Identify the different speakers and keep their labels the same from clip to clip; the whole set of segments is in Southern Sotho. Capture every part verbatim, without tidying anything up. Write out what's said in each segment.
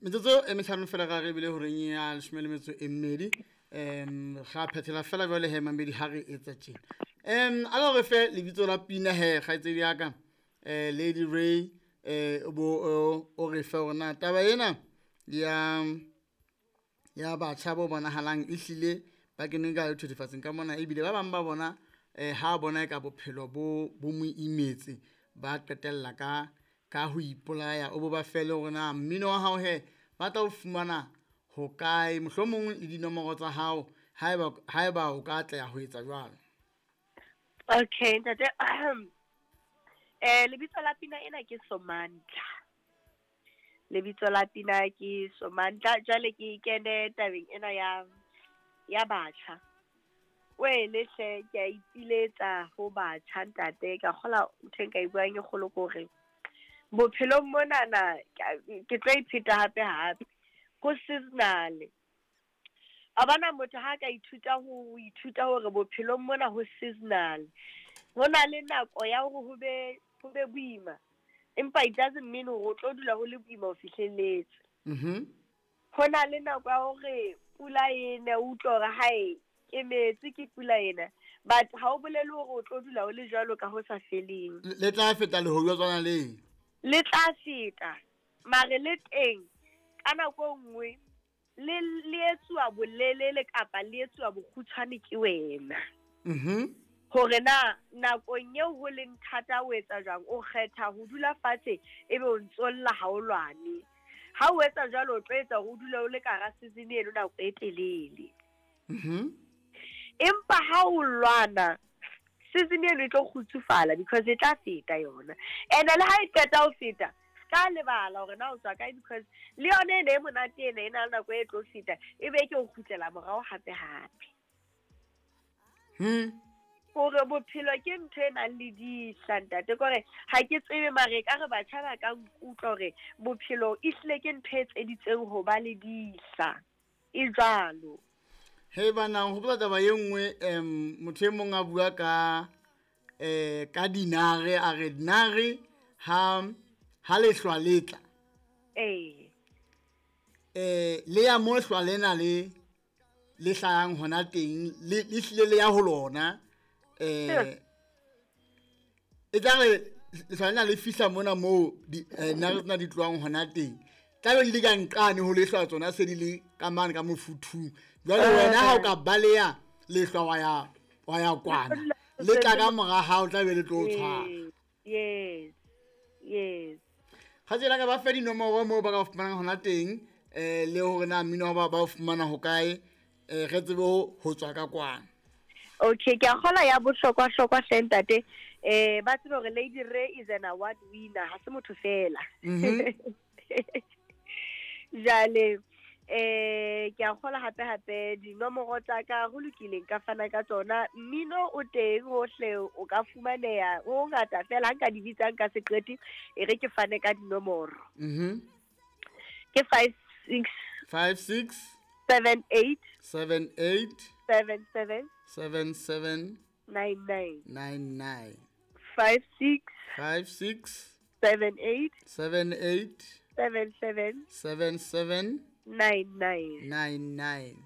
Speaker 1: Metsotso e mehlano fela ga re ebile horeng ya leshome le metso e mmedi. Um ga phethela fela jwale he mamedi ha re etsa tjena. Um a re re fe lebitso la pina he kgaitsedi ya ka, eh Lady Ray, eh o bo o re fe hore na taba ena ya ya batjha bo bonahalang ehlile ba kene ka dithethefatsing ka mona, ebile ba bang ba bona eh ha bona eka bophelo bo bo mo imetse, ba qetella ka ka ho ipolaya. O bo ba fe le hore na mmino wa hao he ba tla o fumana hokae, mohlomong le dinomoro tsa hao haeba haeba o ka atleha ho etsa jwalo.
Speaker 2: Okay ntate, eh lebitso la pina ena ke Somandla. Lebitso la pina ke Somandla. Jwale ke kene tabeng ena ya ya batjha. Wele hle, ke a ipiletsa ho batjha ntate, ka kgola ntho e nka e buang e kgolo ke hore bophelong monana ke tlo ipheta hape hape, ho seasonal. A bona motho ha ka ithuta ho ithuta hore bophelong mona ho seasonal. Ho na le nako ya hore ho be ho be boima, empa it doesn't mean hore o tlo dula ho le boima ho fihlelletse.
Speaker 1: Mhm.
Speaker 2: Ho na le nako ya hore pula e ne, o utlwe hore hae ke metsi ke pula ena, but ha o bolele hore o tlo dula o le jwalo ka ho sa feleng.
Speaker 1: Le tla feta lehodu le.
Speaker 2: Le tla feta, mare le teng ka nako e nngwe le le etsuwa bolelele kapa le etsuwa bokgutshwane ke wena.
Speaker 1: Mhm.
Speaker 2: Hore na nakong eo ho leng thata o etsa jwang, o kgetha ho dula fatshe ebe o ntsolla ha o lwane. Ha o etsa jwalo, o tlo etsa hore o dule o le ka hara season eno nako e telele.
Speaker 1: Mhm.
Speaker 2: Empa ha o lwana, season eno e tlo kgutsufala because e tla feta yona. And le ha e qeta ho feta, ska lebala hore na o tswa kae, because le yona ene e monate ena e na le nako e tlo feta, e be ke o kgutlela morao hape hape.
Speaker 1: Hmm.
Speaker 2: Hore bophelo ke ntho e nang le dihla ntate, ke hore ha ke tsebe mare ekare batjha ba ka nkutlwa hore bophelo ehlile ke ntho e etseditsweng ho ba le dihla, e jwalo.
Speaker 1: He bana, hopola taba e nngwe, em motho e mong a bua ka eh ka dinare, a re dinare ha ha lehlwa le tla.
Speaker 2: Eh.
Speaker 1: Eh le ya mo hlwa lena le le hlayang hona teng, le le hlile le ya ho lona. Eh e tla re lehlwa lena le fihla mona moo di nare tsena di tlohang hona teng, tla be di le ka nqane ho lehlwa tsona se di le ka mane ka mofuthung. Jwale wena ha o ka baleha lehlwa wa ya wa ya kwana, le tla ka mora hao, tla be le tlo o tshwara.
Speaker 2: Yes. Yes.
Speaker 1: Kgaitsedi ya ka, ba fe dinomoro moo ba ka fumanang hona teng, eh le hore na mmino ba ba o fumana hokae, eh re tsebe ho tswa ka kwana.
Speaker 2: Okay, ke a kgola ya bohlokwa hlokwa hle ntate. Eh ba tsebe hore Lady Ray is an award winner, ha se motho fela.
Speaker 1: Mhm.
Speaker 2: Jwale eh ke a kgola hape hape dinomoro tsa ka ho lokile nka fana ka tsona. Mmino o teng hohle, o ka fumaneha ho ngata fela, ha nka di bitsa nka se qete, e re ke fane ka dinomoro.
Speaker 1: Mhm.
Speaker 2: Ke five six
Speaker 1: five six
Speaker 2: seven eight
Speaker 1: seven eight
Speaker 2: seven seven
Speaker 1: seven seven
Speaker 2: nine nine
Speaker 1: nine nine
Speaker 2: five six
Speaker 1: five six
Speaker 2: seven eight
Speaker 1: seven eight
Speaker 2: seven seven
Speaker 1: seven seven
Speaker 2: nine nine
Speaker 1: nine nine.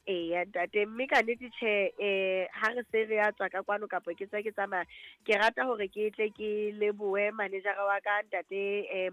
Speaker 2: Eya ntate, mme ka nnete tjhe, eh ha re se re ya tswa ka kwano kapa ke tswa ke tsamaya, ke rata hore ke tle ke lebohe manager wa ka ntate eh